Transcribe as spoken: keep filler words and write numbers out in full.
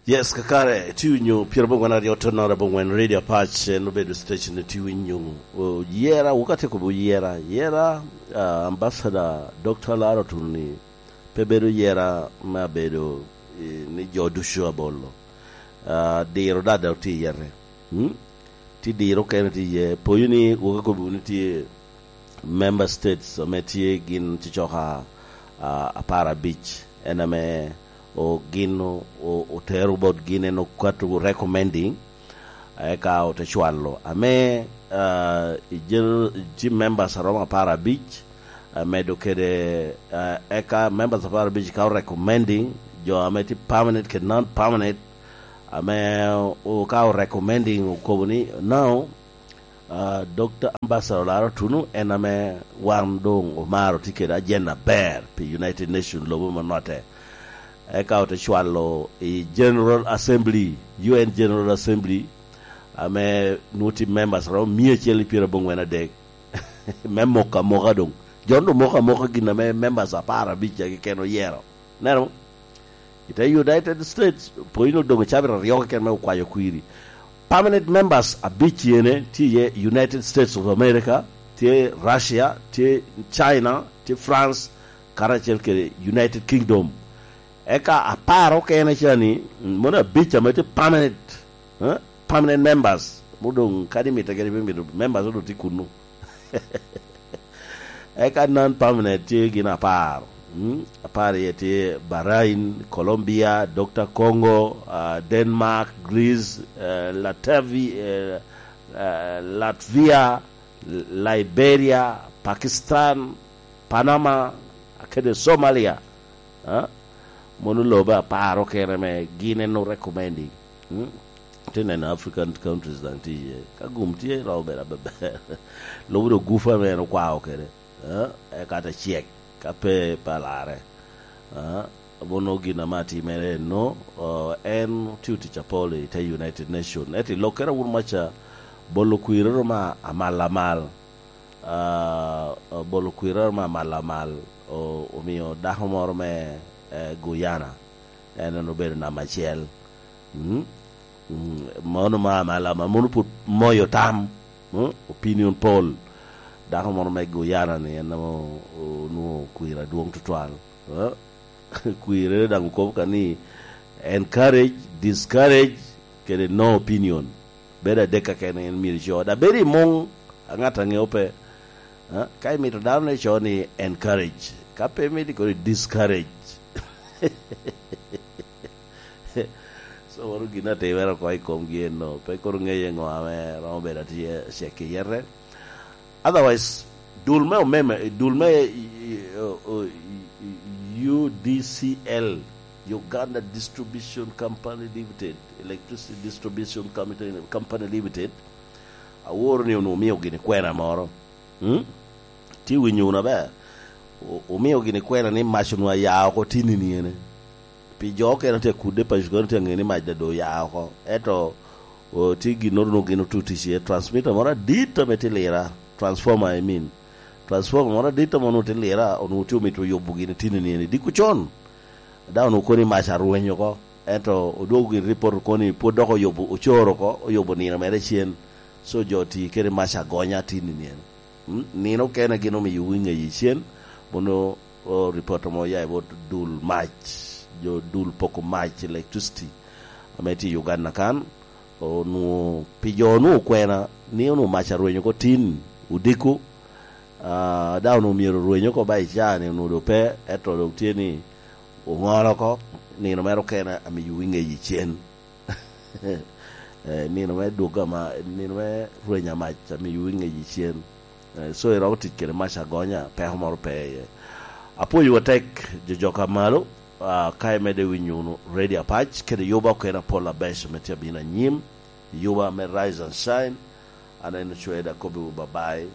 Yes, kakare, tye winyo pyerabongwen aryo tonnoro abongwen Radio Apac, en obedo station ni tye winyo. O, yera, wuka tye kobo yera, yera, ah, Ambassador Doctor Laro Tunu ni pe bedo yera me abedo, eh, ni jo ducu abolo. Ah, diro dada tye i yete. Hmm? Tye diro kene tye iye. Poyo ni wuka kobo ni tye member states ame tye gin cocoka, ah, apar abic, en ame o-, gin o-, o-, otero bot gin en okato recommending, eka ote cwalo. Ame, ah, i gen-, tye members aromo apar abic, amedo kede, ah, eka members apar abic ka o recommending, jo ame tye permanent kede non-permanent, ame o-, ka o recommending okobo ni, "No, ah, Doctor Ambassador Laro Tunu en ame wan doŋ omaro tye kede ajen aber pi United Nations lobo me notte." Eka ote cwalo i General Assembly, U N General Assembly, ame nwoŋo tye members romo mia acel i pyerabongwen adek, me moko amoka doŋ. Jon doŋ moko amoka gin ame members apar abic keken oyero. Neno? I te United States, pwony onwoŋo doŋ cabit aryo keken me okwayo kwiri. Permanent members abic ene tye iye United States of America, tye Russia, tye China, tye France, karacel kede United Kingdom. Eka apar okene ca ni, mm, mono abic ame tye permanent, eh, permanent members. Mo doŋ kadi mitte kadi pe mito, members doŋ tye kunnu. Eka non permanent tye gin apar. Mm, apar iye tye Bahrain, Colombia, Doctor Congo, ah, Denmark, Greece, eh, Latavi-, eh, eh, Latvia, Liberia, Pakistan, Panama, kede Somalia. Ah, mono lobe apar okene me gin en recommending. Mm? Tye neno African countries daŋ tye iye. Ka gum tye, romo bedo aber. Lubo dok gufa ame en okwao kede. Eh, eka te cek, ka pe, pe alarre. Eh, mono gin ame atimere eno, eh, en otio tic apol i te United Nation. Ento i lokkere awun maca, bolo kwiri romo amal amal. Ah, bolo kwiri romo amal amal, o-, omio dako moro me, eh, Guyana, en, en obedo namba acel. Mm? Mm, mono ma amal amal, mono pwod moyo tam. Mm? Opinion poll. Dako moro me Guyana ni en ame o-, onwoŋo kwir adwoŋ tutwal. Eh? Kwirre daŋ okobo ka ni encourage, discourage, kede no opinion. Bedo adek kakene en myero ico. Da bedo i muŋ, a ŋat a ŋeo pe. Eh? Ka imito dano ni co ni encourage. Ka pe imito kono discourage. So, mano gin atimere oko i komgi eno. Pe kono ŋeye ŋo ame romo bedo atye cek i yete. Otherwise, dul me omeme, dul me, i, i, o, o, i, i, U D C L, Uganda Distribution Company Limited, Electricity Distribution Company, Company Limited, aworo ni onwoŋo omio gini kwena moro. Hmm? Tye winyo wunu aber. O-, omio gini kwena ni mac onwoŋo aya oko tin i niene. Pi jo okene tye akudde, paco kene tye aŋe ni mac daŋ doŋ oya oko. Ento, o, tye ginnoro onwoŋo gin otutic iye, transmitter moro adit ame tye lira, transformer, I mean. Transformer moro adit ame onwoŋo tye lira, onwoŋo tye omito yubo gini tin i niene diko con. Daŋ onwoŋo kono ni mac arweny oko. Ento odwogo gin report oko ni pwod dok oyubo, ocoro oko, oyubo nino mere cen. So jo oti kede mac agonya tin i niene. Mm, nino okene gin omiyo wi ŋeye cen, mono, o, report mo oya i bot dul mac, jo dul poko mac, electricity, ame tye i Uganda kan, onwoŋo, pi jo onwoŋo okwena, ni onwoŋo mac arwenyo oko tin, odiko, ah, daŋ onwoŋo myero orweny oko ba i caa ni onwoŋo doŋ pe, ento doŋ tye ni oŋolo oko, nino mere okene amiyo wi ŋeye cen. Eh, nino me dwogo ama, nino me rwenya mac amiyo wi ŋeye cen. Eh, so iromo tic kede mac agonya, peko moro pe iye. Apwoyowu atek, jo jok a malo, ah, ka imedde winyo wunu Radio Apac, kede yuba okene apol abeco me tye abino anyim, yuba me Rise and Shine, an en Ocweda, akobbiwu babai.